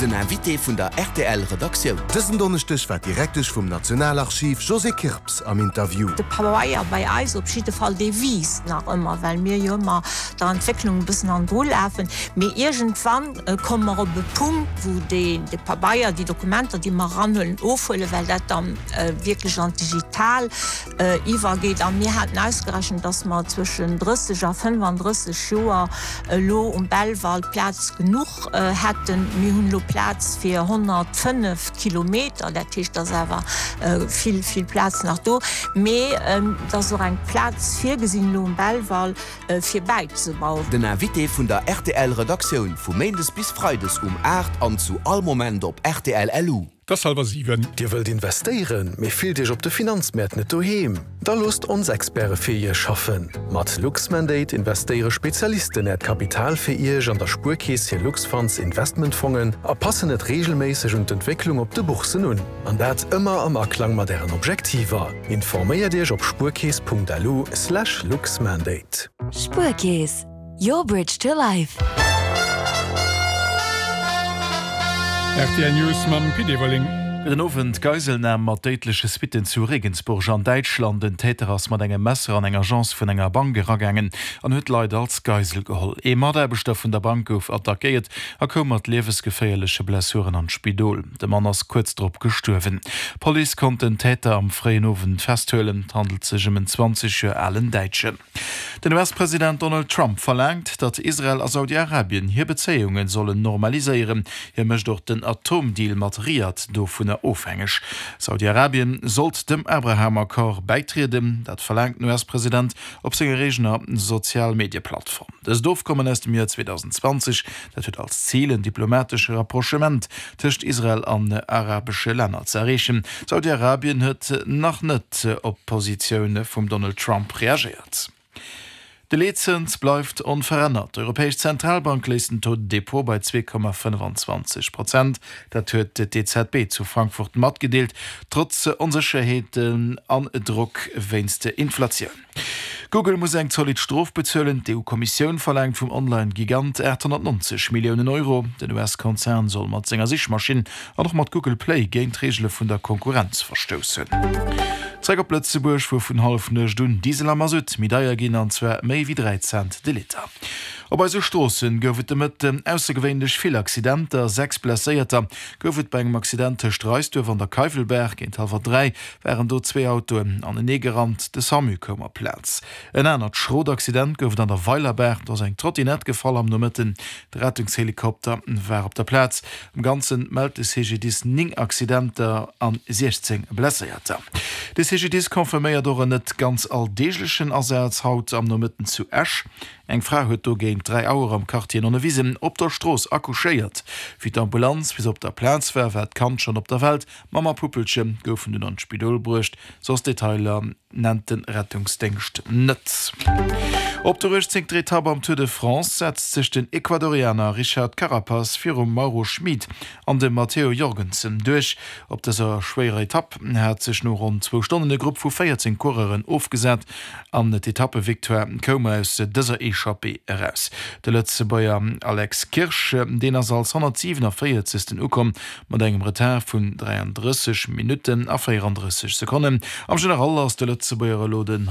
Den Invité vun der rtl Redaktioun. Dësen Donneschdeg war d'Direktesch vum Nationalarchiv Josée Kirps am Interview. De Pabeier bei eis op jidde Fall, dee wiisst nach ëmmer, well mir jo ëmmer der Entwécklung e bëssen hannendru lafen. Mee iergendwann komme mer op e Punkt, wou dee Pabeier, déi Dokumenter, déi mer eranhuelen, ofhuelen, well dat dann wierklech an d'Digital iwwergeet. A mir haten ausgerechent, dass mer zwëschen 30 a 35 Joer elo um Belval Plaz genuch hätten. Mir hunn elo Plaz fir 105 Kilometer, dat heescht, et ass awer vill, vill Plaz nach do. Mee et ass och eng Plaz virgesinn elo um Belval, fir bäizebauen. Den Invité vun der rtl Redaktioun vu Méindes bis Freides um 8 an zu all Moment op rtl LU. 't ass halwer 7. Dir wëllt investéieren, mee fillt Iech op de Finanzmäert net doheem? Da loosst ons Experte fir Iech schaffen! Mat Luxmandate investéiere Spezialisten Äert Kapital fir Iech an der Spuerkeess hir Luxfunds Investmentfongen a passen et reegelméisseg un d'Entwécklung op de Bourssen un. An dat ëmmer am Aklang mat Ären Objektiver. Informéiert Iech op spuerkeess.lu slash luxmandate. Spuerkeess, your bridge to life. Rtl News mam Pit Everling. Gudden Owend. Geiselnam mat déidleche Suitten zu Regensburg an Däitschland. En Täter ass mat engem Messer an eng Agence vun enger Bank eragaangen an huet Leit als Geisel geholl. Ee Mataarbechter vun der Bank gouf attackéiert a koum mat liewesgeféierleche Blessuren an d'Spidol. De Mann ass kuerz drop gestuerwen. D'Police konnt den Täter am fréien Owend festhuelen. Et handelt sech ëm en 20 Joer alen Däitschen. Den US-President Donald Trump verlaangt, datt Israel a Saudi-Arabien hir Bezéiunge sollen normaliséieren. Hie mécht och den Atomdeal mat Riad dovunner ofhängeg. Saudi-Arabien sollt dem Abraham-Accord bäitrieden. Dat verlaangt den US-President op senger eegener Sozial-Medie-Plattform. Dëst Ofkommen aus dem Joer 2020 Dat huet als Zil, en diplomatesche Rapprochement tëscht Israel an arabesche Länner ze erreechen. Saudi-Arabien huet nach net op d'Positioun vum Donald Trump reagéiert. De Leetzëns bleift onverännert. D'Europäesch Zentralbank léisst den Taux de dépôt bei 2,25 Prozent. Dat huet d'EZB zu Frankfurt matgedeelt, trotz Onsécherheeten an Drock wéinst der Inflatioun. Google muss eng zolidd Strof bezuelen. D'EU-Kommissioun verlaangt vum Online-Gigant 890 Milliounen Euro. Den US-Konzern soll mat senger Sichmaschinn an och mat Google Play géint d'Reegele vun der Konkurrenz verstoussen. Zeréck op Lëtzebuerg, wou vun Hallefnuecht un Diesel a Masutt méi deier ginn, an zwar méi wéi 3 Cent de Liter. Op eise Stroosse gouf et de Mëtten aussergewéinlech vill Accidenter. 6 Blesséierter gouf et bei engem Accident tëscht Reisduerf an der Keiwelbaach. Géint hallwer 3 waren do zwee Autoen anenee gerannt. De Samu koum op d'Plaz. En anert schrot Accident gouf et an der Weilerbaach. Do ass eng Trottinett gefall am Nomëtten. De Rettungshelikopter war op der Plaz. Am Ganze mellt de CGDIS 9 Accidenter an 16 Blesséierter. De CGDIS confirméiert och en net ganz alldeeglechen Asaz haut am Nomëtten zu Esch. Eng Fra huet do géint 3 Auer am Quartier Nonnewisen op der Strooss accouchéiert. Wéi d'Ambulanz bis op der Plaz war, war d'Kand schonn op der Welt. Mamm a Puppelche goufen dunn an d'Spidol bruecht, soss Detailer nennt de Rettungsdéngscht net. Op der 18. Etapp am Tour de France setzt sech den Ecuadorianer Richard Carapaz virum Mauro Schmid an dem Matteo Jorgensen duerch. Op dëser schwéierer Etapp hat sech no ronn zwou Stonnen e Grupp vu 14 Coureuren ofgesat an d'Etappevictoire koum aus dëser Echappée eraus. De Lëtzebuerger Alex Kirsch, deen ass als 147. Ukomm Mat engem Retard vun 33 Minutten a 34 Sekonnen am General ass de Lëtzebuerger elo den.